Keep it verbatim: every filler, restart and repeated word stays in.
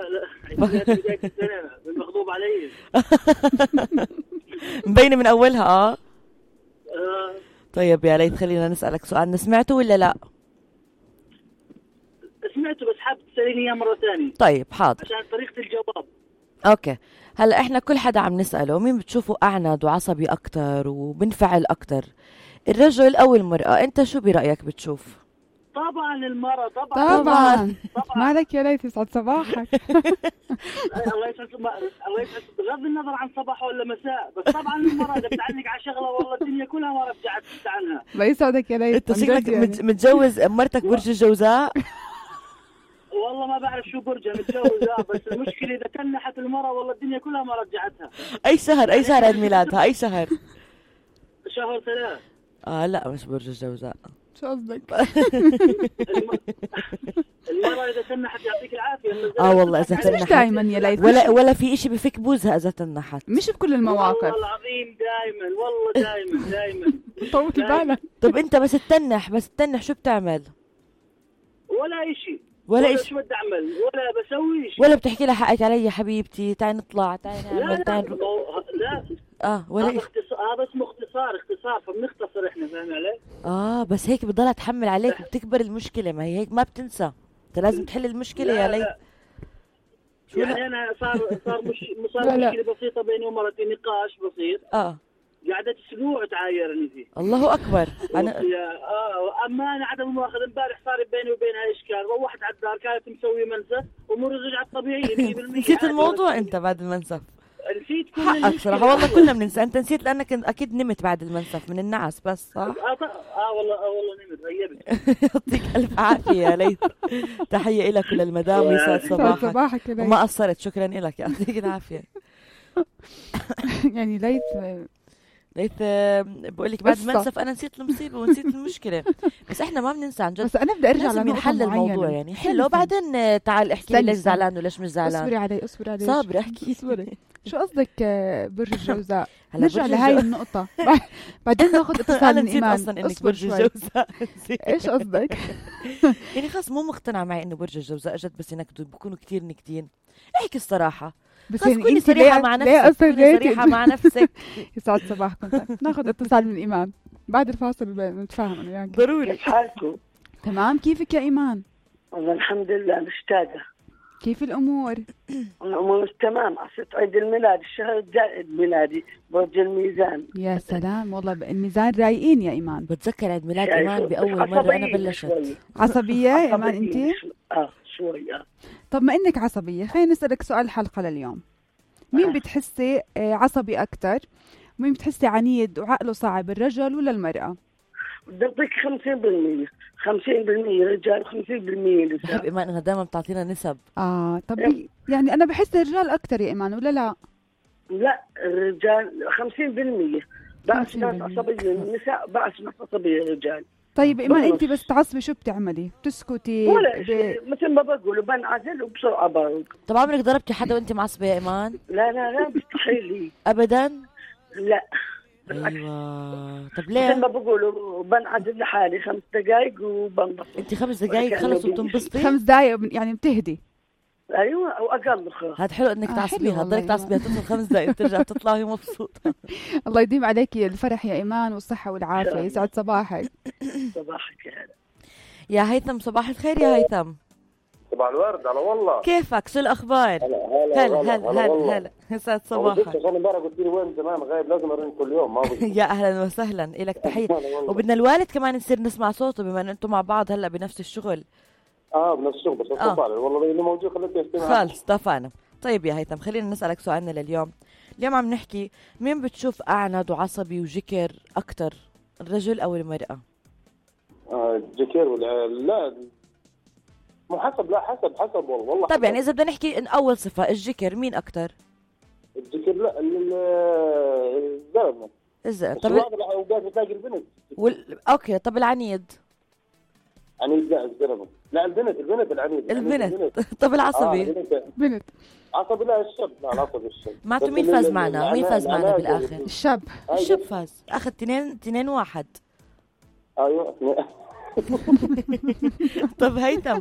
لا لا عيد بداية السنة المغضوب علي. مبينة من أولها آه آه. طيب يا ليث خلينا نسألك سؤال، سمعته ولا لا؟ سمعته بس حاب تسأليني إياه مرة ثانية. طيب حاضر عشان طريقة الجواب. اوكي هلا احنا كل حدا عم نسأله مين بتشوفه اعند وعصبي اكتر وبنفعل اكتر، الرجل او المرأة؟ انت شو برأيك بتشوف؟ طبعا المرأة طبعا طبعا, طبعا. مالك يا ليث يسعد صباحك. الله يسعد الله يسعد بغض النظر عن صباح ولا مساء، بس طبعا المرأة اذا بتعلق على شغلة والله الدنيا كلها ما رجعت عنها. الله يسعدك يا ليث. انت شكلك يعني متجوز مرتك برج الجوزاء. والله ما بعرف شو برجها متجوزة، بس المشكلة إذا تنحت المرأة والله الدنيا كلها ما رجعتها. أي شهر أي شهر عيد ميلادها أي شهر؟ شهر ثلاث. آه لا مش برج الجوزاء. شو قصدك؟ المرأة إذا تنحت يعطيك العافية. آه والله إذا تنحت مش دايما يا ليث، ولا ولا في إشي بفك بوزها إذا تنحت، مش بكل المواقف. والله العظيم دائما والله دائما دائما. طول بالك. طب أنت بس تتنح بس تتنح شو بتعمل؟ ولا إشي ولا, ولا إشي شو بدي أعمل ولا بسوي إشي ولا بتحكي لها حقك علي يا حبيبتي تعي نطلع تعي نعمل تعي نروح. لا اه ولا هذا اختصار، هذا اسمه اختصار اختصار فبنختصر احنا، فاهم علي؟ اه بس هيك بتضلها تحمل عليك وبتكبر المشكلة، ما هي هيك ما بتنسى، انت لازم تحل المشكلة يا ليث. يعني لا. انا صار صار مش صار مشكلة بسيطة بيني ومرتي، نقاش بسيط اه قعدت اسبوع تعايرني فيه. الله اكبر. انا اه اما انا عدم المؤاخذة امبارح صار بيني وبينها اشكال، روحت على الدار كانت مسوية منسف واموري رجعت طبيعية مية بالمية. نسيت الموضوع انت بعد المنسف. نسيت كل حقك صراحة والله كلنا بننسى، انت نسيت لانك اكيد نمت بعد المنسف من النعس بس صح؟ اه اه والله اه والله نمت غيبت. يعطيك الف عافية يا ليث، تحية لك وللمدام يسعد صباحك. صباحك وما قصرت، شكرا لك يعطيك العافية. يعني ليث ليث بقول لك بعد المنسف انا نسيت المصيبة ونسيت المشكلة، بس احنا ما بننسى عن جد. بس انا بدي ارجع لازم ينحل الموضوع يعني حله وبعدين تعال احكي لي ليش زعلان وليش مش زعلان. اصبري علي اصبري علي صابري احكي اصبري. شو قصدك برج الجوزاء؟ نرجع لهاي النقطة بعدين ناخذ اتصال من ايمان. اصلا انك برج الجوزاء. ايش قصدك؟ يعني خلص مو مقتنعة معي انه برج الجوزاء جد بس ينكدوا بكونوا كتير نكتين. احكي الصراحة بس يعني كوني صريحة مع نفسك كوني صريحة مع نفسك. يسعد صباحكم. ناخذ اتصال من ايمان بعد الفاصل نتفاهم انا وياك. ضروري. كيف حالكم؟ تمام. كيفك يا ايمان؟ والله الحمد لله مشتاقة. كيف الامور؟ الامور تمام. عصيت عيد الميلاد الشهر الجاي عيد ميلادي برج الميزان. يا سلام والله الميزان رايقين يا ايمان. بتذكر عيد ميلاد ايمان باول مرة انا بلشت عصبية يا ايمان انت؟ اه شوي. اه طب ما انك عصبية خلينا نسألك سؤال الحلقة لليوم. مين آه. بتحسي عصبي اكتر؟ ومين بتحسي عنيد وعقله صعب، الرجل ولا المرأة؟ بدي اعطيك خمسين بالمية خمسين بالمية رجال وخمسين بالمية نساء. بحب ايمان انها دائما بتعطينا نسب. اه طب يعني, يعني انا بحس الرجال اكتر يا ايمان ولا لا؟ لا الرجال خمسين بالمية بعض ناس عصبية، النساء بعض ناس عصبية الرجال. طيب ايمان انت بس تعصبي شو بتعملي؟ بتسكتي ولا ب... مثل ما بقول بنعزل وبسرعة برد. طب عمرك ضربتي حدا وانت معصبة يا ايمان؟ لا لا لا مستحيل لي ابدا. لا ايوه. طب ليه؟ مثل ما بقولوا بنعزل لحالي خمس دقائق وبنبسط. انت خمس دقائق خلص وبتنبسطي؟ خمس دقائق يعني بتهدي. ايوه او اقل خلاص. هاد حلو انك آه تعصبيها، تضلك تعصبيها تصل خمس دقائق وترجع تطلع وهي مبسوطة. الله يديم عليكي الفرح يا ايمان والصحة والعافية. يسعد صباحك. صباحك يا هلا. يا هيثم صباح الخير يا هيثم. صباح الورد. على والله كيفك شو الاخبار؟ هلا هلا هلا هلا هلا يسعد صباحك. عشان امبارح قلت لي وين زمان غايب لازم ارن كل يوم. ما يا اهلا وسهلا لك تحيه. وبدنا الوالد كمان نصير نسمع صوته بما ان انتم مع بعض هلا بنفس الشغل. اه بنفس الشغل بس آه. والله اللي موجود خليك يستمع. خلص اتفقنا. طيب يا هيثم خلينا نسالك سؤالنا لليوم. اليوم عم نحكي مين بتشوف اعند وعصبي وجكر اكثر، الرجل او المراه؟ آه جكر ولا لا مو حسب. لا حسب حسب والله والله. طب يعني اذا بدنا نحكي ان اول صفه الجكر مين اكثر؟ الجكر لا الزلمه. الزلمه. طب اوقات بتلاقي البنت وال... اوكي. طب العنيد؟ عنيد لا الزلمه. لا البنت البنت العنيد البنت. طب العصبي؟ آه بنت. عصبي لا الشاب. لا العصبي الشاب. معناته مين فاز معنا؟ مين فاز معنا بالاخر؟ الشاب. الشاب فاز اخذ اثنين اثنين واحد. ايوه. طب هيثم